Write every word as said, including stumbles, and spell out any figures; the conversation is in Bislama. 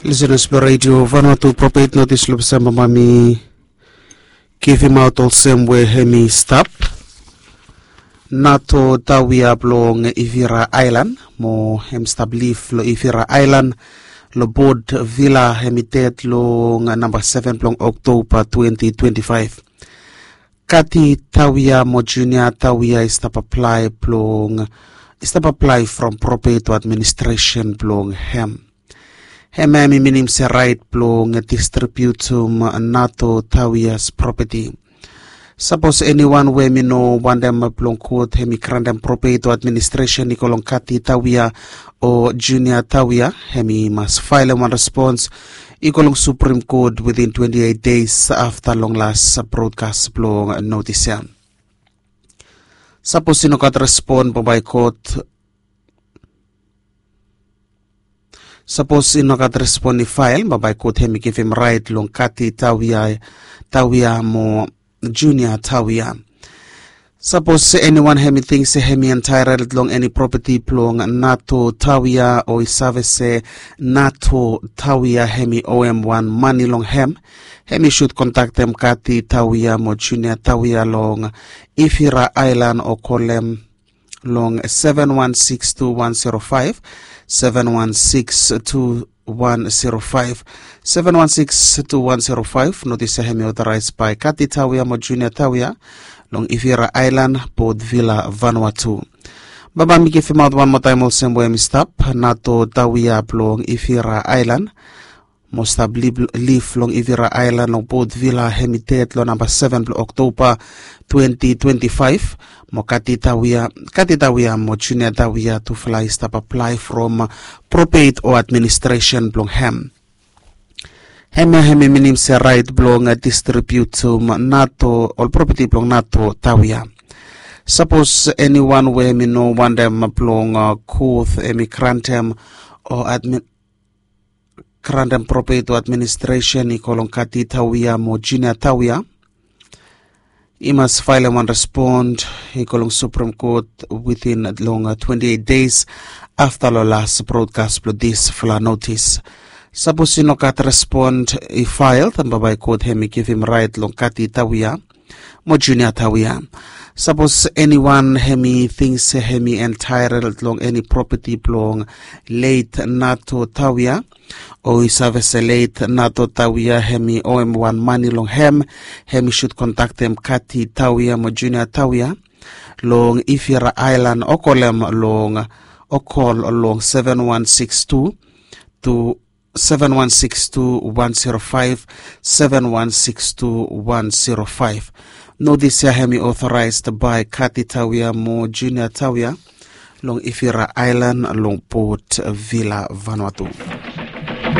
Lisenas blong redio Vanuatu, propet notis long Desemba, mami givimaot olsem we hem i stap. Nato Tawia blong Ivira Ailan mo hem stap liv long Ivira Ailan long Port Vila, hem i ded long namba seven blong Oktoba twenty twenty-five. Kati Tawia mo Junia Tawia i stap aplae blong i stap aplae from propeto administresen blong hem. Hem hem i minim se rait blong distribiutum Nato Tawias propeti. Sapos eniwan we hem i no wantem blong kot hem i grantem propeto administresen i go long Kati Tawia o Junia Tawia, hem i mas faelem wan respons i go long Suprim Kot witin twenti eit deis afta long las brodkas blong notis ya. Sapos i no gat respon bambae kot sapos i no gat respon i fael, bambae kot hem i givim rait long Kati Tawia, Tawia mo Junia Tawia. Sapos eniwan hem i ting se hem i entaerel long eni propeti blong Nato Tawia o i save se Nato Tawia hem i oem wan mani long hem, hem i sud kontaktem Kati Tawia mo Junia Tawia long Ivira Ailan o kolem long seven one six two one zero five, seven one six two one zero five, seven one six two one zero five. Notis ya hem i otoraes bae Kati Tawia mo Junia Tawia long Ivira Ailan, Port Vila, Vanuatu. Bambae mi givimaot wan moa taem olsem we hem i stap. Nato Tawia blong Ivira Ailan mo stap liv long Ivira Ailan long Port Vila, hem i ded long namba seven blong Oktoba twenty twenty-five. Mo Kati Tawia, Kati Tawia mo Junia Tawia tufala i stap aplae from propet o administresen blong hem. Hem ya hem i minim se rait blong distribiutum Nato, ol propeti blong Nato Tawia. Sapos eniwan we hem i no wantem blong kot hem i grantem o admin grantem propeto administresen i go long Kati Tawia mo Junia Tawia, i mas faelem wan respon i go long Suprim Kot witin long twenti eit deis afta long las brodkas blong disfala notis. Sapos i no gat respon i fael, bambae kot hem i givim rait long Kati Tawia mo Junia Tawia. Sapos eniwan hem i ting se hem i entaerel long eni propeti blong leit Nato Tawia, o i save se leit Nato Tawia hem i oem wan mani long hem, hem i sud kontaktem Kati Tawia mo Junia Tawia long Ivira Ailan o kolem long o kol long seven one six two two seven one six two one zero five, seven one six two one zero five. Notis ya hem i otoraes bae Kati Tawia mo Junia Tawia long Ivira Ailan long Port Vila, Vanuatu.